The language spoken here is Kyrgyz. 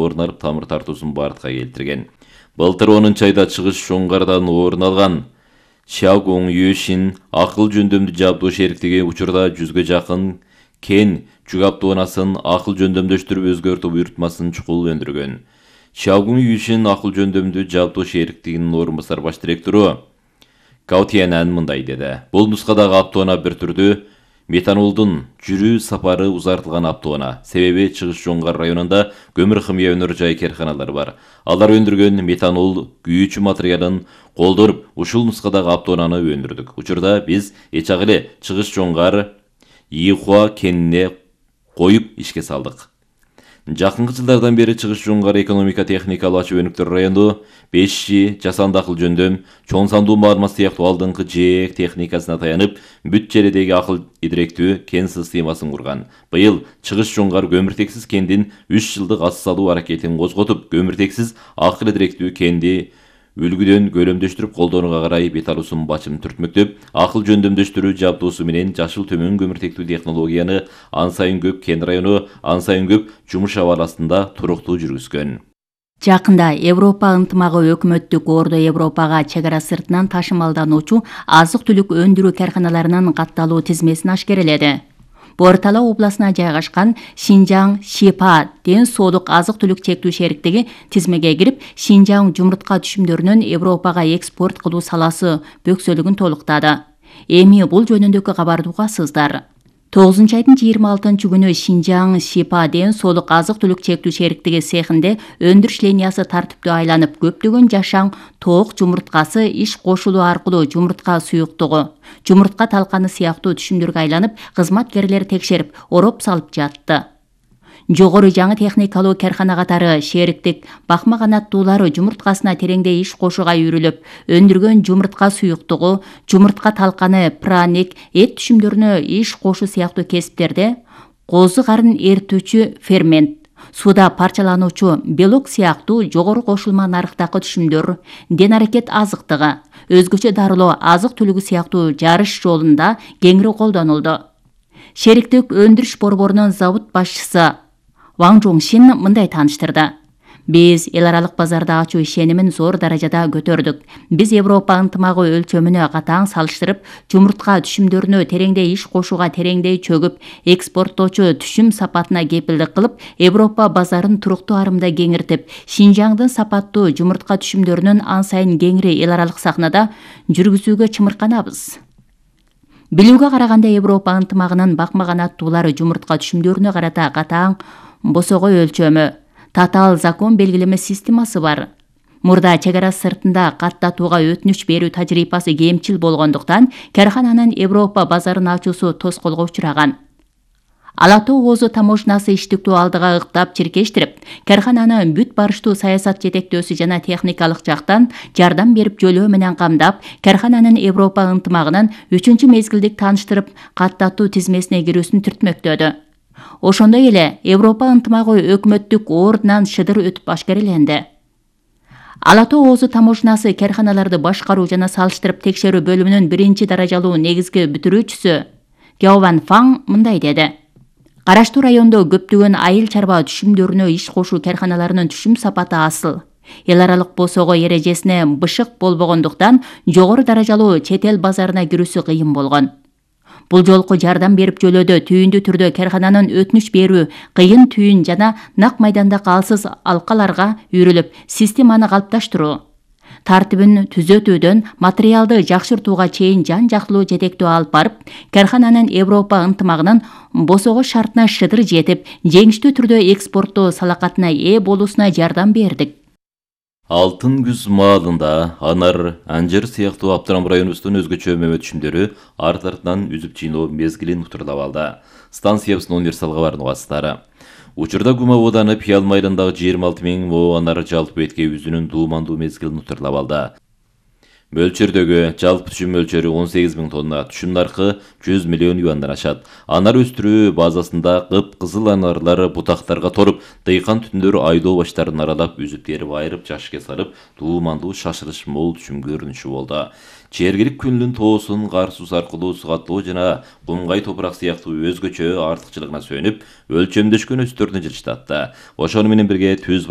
орун алып тамыр тартуусун бартка келтирген. Былтыр 10-айда Чыгыш Жоңгардан орун алган Xiaogong Yuxin акыл жөндөмдүү жабдуу шериктиги учурда 100ге жакын кен жүк автоунасын акыл жөндөмдөштүрүп өзгөртүү буйрутмасын чукул өндүргөн. Xiaogong Yuxin акыл жөндөмдүү жабдуу шериктигинин орун басар баш директору Gao Tianan мындай деди. Бул нускадагы автоуна бир түрдүү метанолдун жүрүү сапары узартылган автоуна. Себеби Чыгыш Жоңгар районунда көмүр химия өнөр жай карханалары бар. Алар өндүргөн метанол күйүүчү материалын колдонуп, ушул нускадагы автоунаны өндүрдүк. Учурда биз эчак эле Чыгыш Жоңгар Йихуа кенине коюп ишке салдык. Жакынкы жылдардан бери Чыгыш Жоңгар экономика техникалык ачуу өнүктөр району 5G, жасанды акыл жөндөм, чоң сандуу маалымат сыяктуу алдыңкы жээк техникасына таянып, бүт жердеги акыл идиректүү кен системасын курган. Быйыл Чыгыш Жоңгар көмүртексиз кендин 3 жылдык ас салуу аракетин козготуп, көмүртексиз акыл идиректүү кенди үлгүдөн көлөмдөштүрүп колдонууга карай бет алуусун бачым түртмөктөп, акыл жөндөмдөштүрүү жабдуусу менен жашыл төмөн көмүртектүү технологияны ан сайын көп кен району, ан сайын көп жумуш абаласында туруктуу жүргүзгөн. Жакында Европа ынтымагы өкмөттүк Ордо Европага чек ара сыртынан ташымалдануучу азык-түлүк өндүрүү карханаларынын катталуу тизмесин ашкереледи. Бортала областына жайгашкан Шинжаң Шипа ден соолук азык-түлүк чектүү шериктиги тизмеге кирип, Шинжаң жумуртка түшүмдөрүнүн Европага экспорт кылуу саласы бөксөлүгүн толуктады. Эми бул жөнүндөгү кабарды угасыздар. 9-айдын 26-күнү Шинжаң Шипа ден соолук азык-түлүк чектүү шериктиги цехинде өндүрүш линиясы тартиптүү айланып, көптөгөн жашаң тоок жумурткасы иш кошулуу аркылуу жумуртка суюктугу, жумуртка талканы сыяктуу түшүмдөргө айланып, кызматкерлер текшерип, ороп салып жатты. Жогору жаңы техникалуу кархана катары шериктик бакма канаттуулары жумурткасына тереңдей иш кошууга үйрүлүп, өндүргөн жумуртка суюктугу, жумуртка талканы, праник, эт түшүмдөрүнө иш кошуу сыяктуу кесиптерде козу карын эритүүчү фермент, суда парчалануучу белок сыяктуу жогору кошулма нарыктагы түшүмдөр, ден аракет азыктыгы, өзгөчө дарылоо азык-түлүгү сыяктуу жарыш жолунда кеңири колдонулду. Шериктик өндүрүш борборунун завод башчысы Ван Жоңшин мындай тааныштырды. Биз эл аралык базарда ачуу ишенимин зор даражада көтөрдүк. Биз Европа ынтымагы өлчөмүнө катаң салыштырып, жумуртка түшүмдөрүнө тереңдей иш кошууга тереңдей чөгүп, экспорттоочу түшүм сапатына кепилдик кылып, Европа базарын туруктуу арымда кеңиртип, Шинжаңдын сапаттуу жумуртка түшүмдөрүнүн ан сайын кеңири эл аралык сахнада жүргүзүүгө чымырканабыз. Билүүгө караганда Европа ынтымагынын бакма канаттуулары жумуртка түшүмдөрүнө карата катаң босогой өлчөмү, татаал закон белгилеме системасы бар. Мурда чек ара сыртында каттатууга өтүнүч берүү тажрыйбасы кемчил болгондуктан, кархананын Европа базарын ачуусу тоскоолго учураган. Ала Тоо Оозу таможнасы иштиктүү алдыга ыктап чиркештирип, кархананы бүт барыштуу саясат жетектөөсү жана техникалык жактан жардам берип жөлөө менен камдап, кархананын Европа ынтымагынын 3-мезгилдик тааныштырып, каттатуу тизмесине кирүүсүн түртмөктөдү. Ошондой эле Европа ынтымагы өкмөттүк ордунан шыдыр өтүп ашкереленди. Ала Тоо Оозу таможнасы карханаларды башкаруу жана салыштырып текшерүү бөлүмүнүн 1-даражалуу негизги бүтүрүүчүсү Гяован Фаң мындай деди. Караштуу райондо көптөгөн айыл чарба түшүмдөрүнө иш кошуу карханаларынын түшүм сапаты асыл. Эл аралык босого эрежесине бышык болбогондуктан, жогору даражалуу чет эл базарына кирүүсү кыйын болгон. Бул жолку жардам берип жөлөөдө түйүндүү түрдө кархананын өтүнүч берүү, кыйын түйүн жана нак майдандагы алсыз алкаларга үйрүлүп, системаны калыпташтыруу, тартибин түзөтүүдөн материалды жакшыртууга чейин жан-жактылуу жетектөө алып барып, кархананын Европа ынтымагынын босого шартына шыдыр жетип, жеңиштүү түрдө экспорттоо салакатына ээ болуусуна жардам бердик. Алтын күз маалында анар, анжыр сыяктуу Абдырам районубуздун өзгөчө мөмө түшүмдөрү арт-артынан үзүп жыйноо мезгилин утурлап алды. Станциябыздын универсал кабарын угасыздары. Учурда Гума ооданы Пиял майылындагы 26 000 мо анар жалпы бетке үзүнүн дуумандуу мезгилин утурлап алды. Мөлчөрдөгү жалпы түшүм мөлчөрү 18 000 тонна, түшүм наркы 100 миллион юандан ашат. Анар өстүрүү базасында кып-кызыл анарлар бутактарга торуп, дыйкан түндөр айдоо баштарын аралап, үзүп терип айырып жашыкка салып, туумандуу шашырыш мол түшүм көрүнүшү болду. Чергилик күндүн тоосун кар сус аркылуу сугаттоо жана кумгай топурак сыяктуу өзгөчө артыкчылыгына сүйөнүп, өлчөмдөшкөн өсүттөрдүн жылыштатты. Ошону менен бирге түз